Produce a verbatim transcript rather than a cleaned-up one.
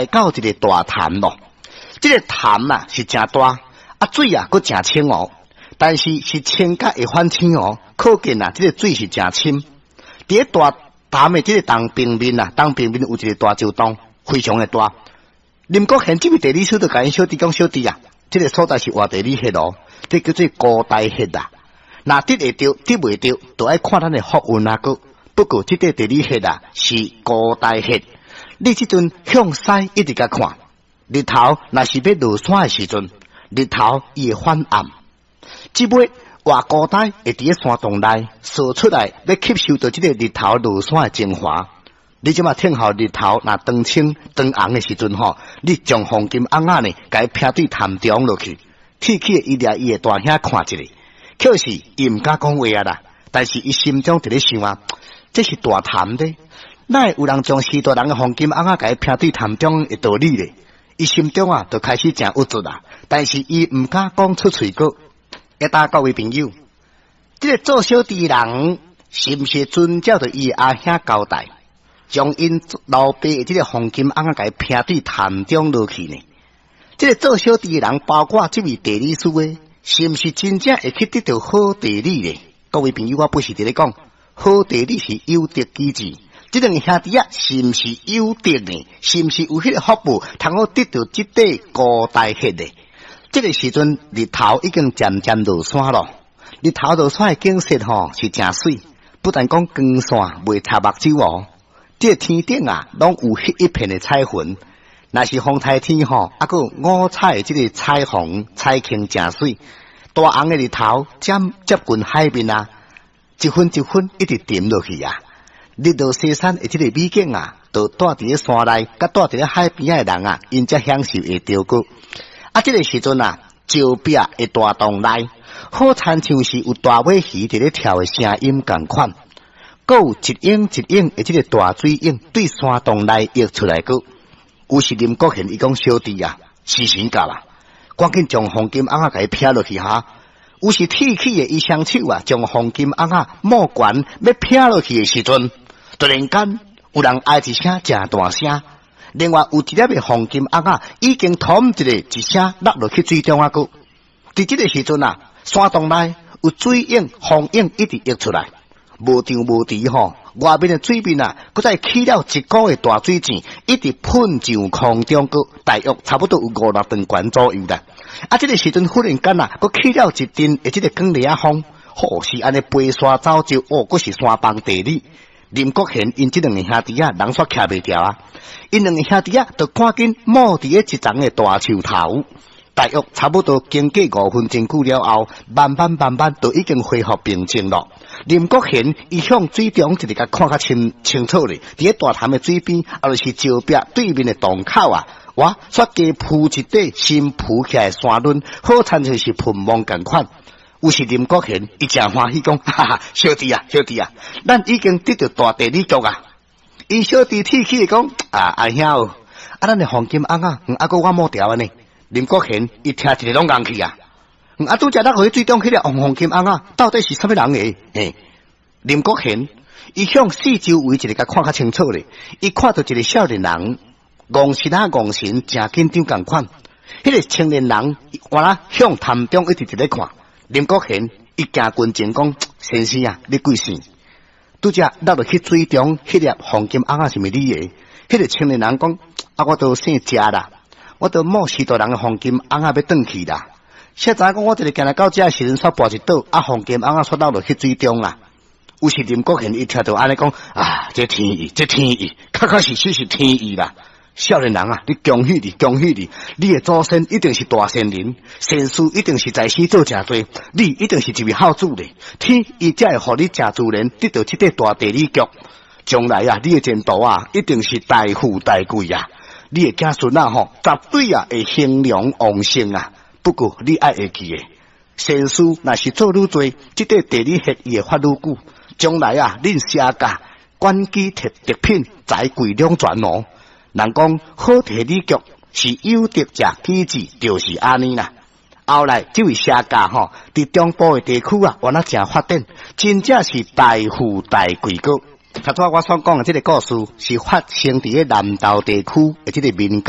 到一个大潭咯。這个潭啊是誠大，啊水啊閣誠清哦，但是是清甲會反青哦，可見啊，這个水是誠深。佇咧大潭的這个東平面啊，東平面有一个大石洞，非常的大。林國賢這位地理師就共𪜶小弟講，小弟啊，這个所在是活地理穴哦，這叫做孤呆穴啊。若得會著，得袂著，就愛看咱的福運啊。閣不過這塊地理穴啊是孤呆穴，你這陣向西一直共看，日頭若是欲落山的時陣，日頭伊會反暗。這尾活孤呆會佇咧山洞內踅出來，欲吸收著這个日頭落山的精華。你這馬聽候日頭若當青當紅的時陣吼，你將黃金甕仔呢，共伊撇對潭中落去，鐵起伊掠伊的大兄看一下，可是伊毋敢講話啊啦，但是伊心中佇咧想啊，這是大潭咧，哪會有人將序大人的黃金甕仔共伊撇對潭中的道理咧？伊心中啊，就開始誠鬱卒啦，但是伊毋敢講出喙閣。一搭各位朋友，這个做小弟人是毋是遵照著伊阿兄交代，將𪜶老爸的這个黃金甕仔共伊撇對潭中落去呢？這个做小弟的人，包括這位地理師的，是毋是真正會去得著好地理呢？各位朋友，我不是佇咧講，好地理是有德機制。這兩个兄弟仔是毋是有德呢？是毋是有彼个福報，通好得著這塊孤呆穴呢？這个時陣日頭已經漸漸落山咯。日頭落山的景色吼是誠媠，不但講光線袂插目睭哦，這个天頂啊，攏有彼一片的彩雲。若是風台天吼，啊閣有五彩的這个彩虹彩虹誠媠。大紅的日頭漸接近海面啊，一分一分一直沉落去啊。日落西山的這個美景啊，就蹛佇咧山內，佮蹛佇咧海邊仔的人啊，𪜶才享受會著閣。啊，這個時陣啊，石壁的大洞內，好親像是有大尾魚佇咧跳的聲音仝款，閣有一影一影的這个大水影對山洞內溢出來閣。有時林國賢伊講，小弟啊，時辰到啦，趕緊將黃金甕仔共伊撇落去哈。有時鐵起的伊雙手啊，將黃金甕仔摸懸欲撇落去的時陣，突然間有人哀一聲誠大聲，另外有一粒的黃金甕仔已經噷一个一聲落落去水中啊！閣佇這个時陣啊，山洞內有水影、風影一直溢出來，無張無弛吼，外面的水面啊，閣再起了一股的大水簷，一直噴上空中，閣大約差不多有五六丈懸左右啦。啊，這个時陣忽然間啊，閣起了一陣的這个捲螺仔風，吼，是按呢飛沙走石，哦，閣是山崩地裂。林國賢𪜶這兩个兄弟仔，人煞徛袂牢啊！𪜶兩个兄弟仔就趕緊趺佇咧一叢的大樹頭，大約差不多經過五分鐘久了後，慢慢慢慢就已經恢復平靜咯。林國賢伊向水中一直共看較清清楚咧，佇咧大潭的水邊，啊，就是石壁對面的洞口啊，哇，煞加浮一塊新浮起來的山崙，好親像是噴霧仝款。有時林國賢伊誠歡喜講，哈哈，小弟啊，小弟啊，咱已經得著大地理局啊！𪜶小弟鐵齒講，啊，阿兄哦，啊，咱的黃金甕仔，啊，閣我摸牢按呢。林國賢伊聽一个攏戇去啊！啊，拄才落去水中彼个黃黃金甕仔，到底是啥物人的？嘿，林國賢伊向四周圍一个共看較清楚咧，伊看著一个少年人，戇神啊戇神，誠緊張仝款。彼个青年人原來向潭中一直佇咧看。林國賢伊行近前講，先生啊，你貴姓？拄才落落去水中，彼粒黃金甕仔是毋是你的？彼个青年人講，啊，我都姓謝啦，我都摸序大人的黃金甕仔欲轉去啦。誰知講我一个行來到遮時陣，煞跋一倒，啊，黃金甕仔煞落落去水中啦。有時林國賢伊聽著按呢講，啊，這天意，這天意，確確實實是天意啦。少年人啊，你恭喜你，恭喜你！你的祖先一定是大善人，善事一定是在世做誠濟，你一定是一位孝子咧。天伊才會予你誠自然得著這塊大地理局。將來啊，你的前途啊，一定是大富大貴啊！你的子孫啊，吼，絕對啊會興隆旺盛啊！不過你愛會記的，善事若是做愈濟，這塊地理學伊會發愈久。將來啊，恁謝家官居特特品，財貴兩全哦。人講好地理局是有德者機智，就是按呢啦。後來這位謝家吼，佇中部的地區啊，原來誠發展，真正是大富大貴閣。頭拄仔我所講的這个故事，是發生佇咧南投地區的這个民間。